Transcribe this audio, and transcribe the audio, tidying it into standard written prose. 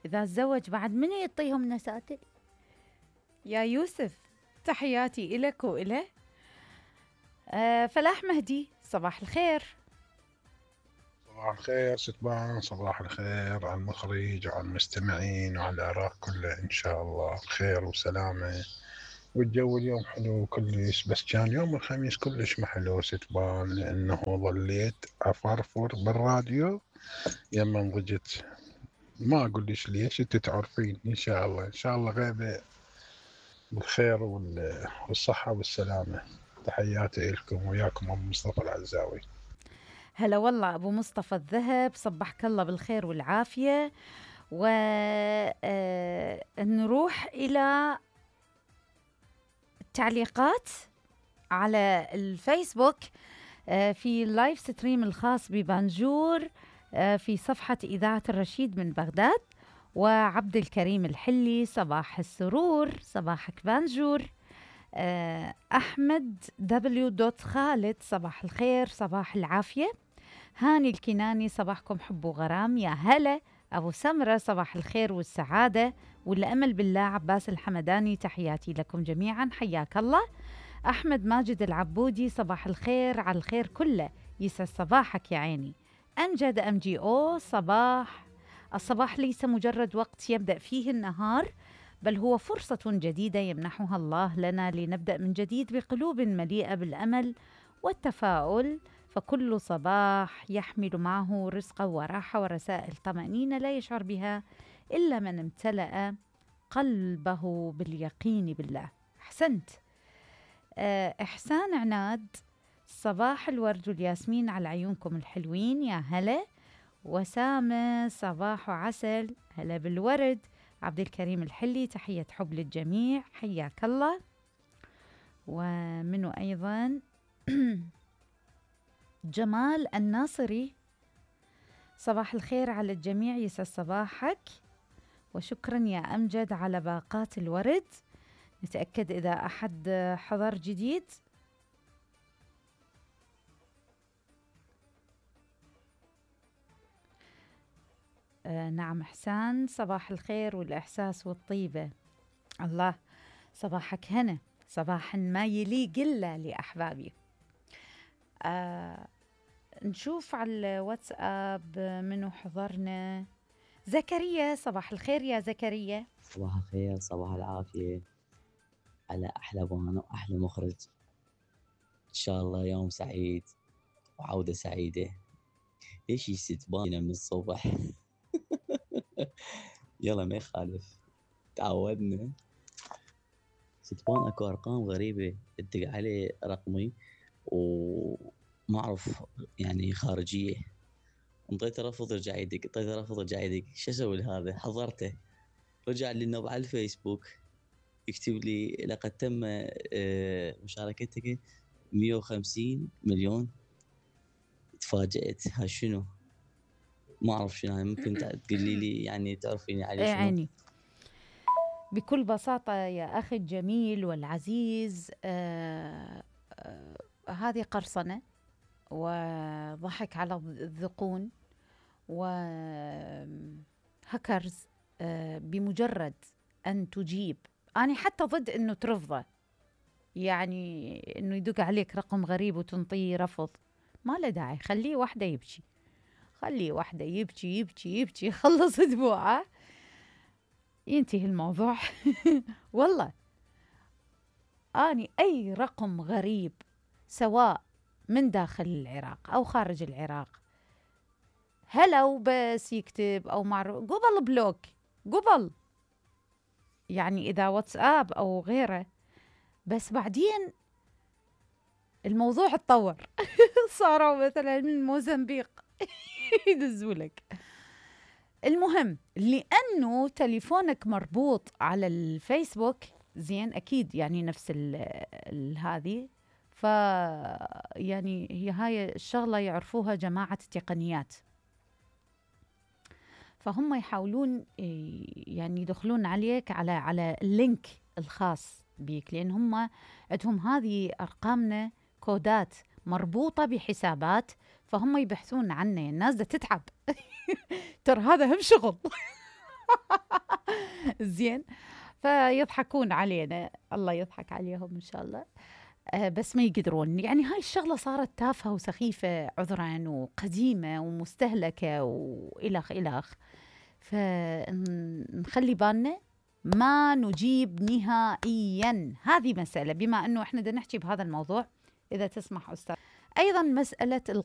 إذا تزوج بعد من يعطيهم نساتل؟ يا يوسف تحياتي إلك وإله. فلاح مهدي صباح الخير. صباح الخير ستبان، صباح الخير على المخرج وعلى المستمعين وعلى العراق كله، إن شاء الله بخير وسلامة. والجو اليوم حلو كلش، بس كان يوم الخميس كلش ما حلو ستبان، لأنه ظليت أفرفر بالراديو يما ضجت. ما أقول ليش ليش، أنت تعرفين. إن شاء الله إن شاء الله غيبة بالخير والصحة والسلامة. تحياتي لكم، وياكم أبو مصطفى العزاوي. هلا والله أبو مصطفى الذهب، صبحك الله بالخير والعافية. ونروح إلى التعليقات على الفيسبوك في اللايف ستريم الخاص ببانجور في صفحة إذاعة الرشيد من بغداد. وعبد الكريم الحلي صباح السرور، صباحك بانجور. أحمد خالد صباح الخير، صباح العافية. هاني الكناني صباحكم حب وغرام، يا هلا. أبو سمرة صباح الخير والسعادة والأمل بالله. عباس الحمداني تحياتي لكم جميعا، حياك الله. أحمد ماجد العبودي صباح الخير على الخير كله، يسعد صباحك يا عيني. أمجد MGO الصباح ليس مجرد وقت يبدأ فيه النهار، بل هو فرصة جديدة يمنحها الله لنا لنبدأ من جديد بقلوب مليئة بالأمل والتفاؤل. فكل صباح يحمل معه رزقا وراحة ورسائل طمأنينة لا يشعر بها إلا من امتلأ قلبه باليقين بالله. أحسنت. إحسان عناد صباح الورد والياسمين على عيونكم الحلوين، يا هلا. وسامة صباح عسل، هلا بالورد. عبد الكريم الحلي تحية حب للجميع، حياك الله. ومنه أيضا جمال الناصري صباح الخير على الجميع، يسعد صباحك. وشكرا يا أمجد على باقات الورد. نتأكد إذا أحد حضر جديد. نعم إحسان، صباح الخير والإحساس والطيبة. الله، صباحك هنا، صباح ما يليق إلا لأحبابي. نشوف على الواتساب منو حضرنا. زكريا صباح الخير يا زكريا. صباح الخير، صباح العافية على أحلى بانو وأحلى مخرج. إن شاء الله يوم سعيد وعودة سعيدة. ليش يستباننا من الصبح؟ يلا ما يخالف، تعودنا. ستبان اكو ارقام غريبة ادق عليه رقمي وما اعرف يعني خارجية، انطيته رفض رجع يدق، انطيته رفض رجع يدق. شو اسوي لهذا؟ حضرته، رجع لي النوب على الفيسبوك يكتب لي لقد تم مشاركتك 150 مليون. تفاجأت، ها شنو؟ ما اعرف شنو، ممكن تقولي لي يعني تعرفيني عليه شنو؟ يعني بكل بساطة يا أخي الجميل والعزيز، هذه قرصنة وضحك على الذقون وهكرز. بمجرد أن تجيب، أنا حتى ضد أنه ترفضه، يعني أنه يدق عليك رقم غريب وتنطيه رفض، ما له داعي. خليه واحدة يبكي، خليه واحدة يبكي يبكي يبكي، خلص دموعه ينتهي الموضوع. والله أني أي رقم غريب سواء من داخل العراق أو خارج العراق، هلا وبس يكتب أو معروف قبل بلوك، قبل يعني إذا واتساب أو غيره، بس بعدين الموضوع اتطور. صاروا مثلا من موزمبيق يدزولك. المهم لأنه تليفونك مربوط على الفيسبوك، زين أكيد يعني نفس هذه، يعني هي هاي الشغلة يعرفوها جماعة التقنيات، فهم يحاولون يعني يدخلون عليك على اللينك الخاص بيك، لأن هم عندهم هذه أرقامنا كودات مربوطة بحسابات، فهم يبحثون عنه. الناس دا تتعب. ترى هذا هم شغل. زين. فيضحكون علينا، الله يضحك عليهم إن شاء الله. بس ما يقدرون، يعني هاي الشغلة صارت تافهة وسخيفة عذرا وقديمة ومستهلكة وإلخ إلخ. فنخلي بالنا ما نجيب نهائيا. هذه مسألة، بما أنه إحنا بدنا نحكي بهذا الموضوع إذا تسمح أستاذ. أيضا مسألة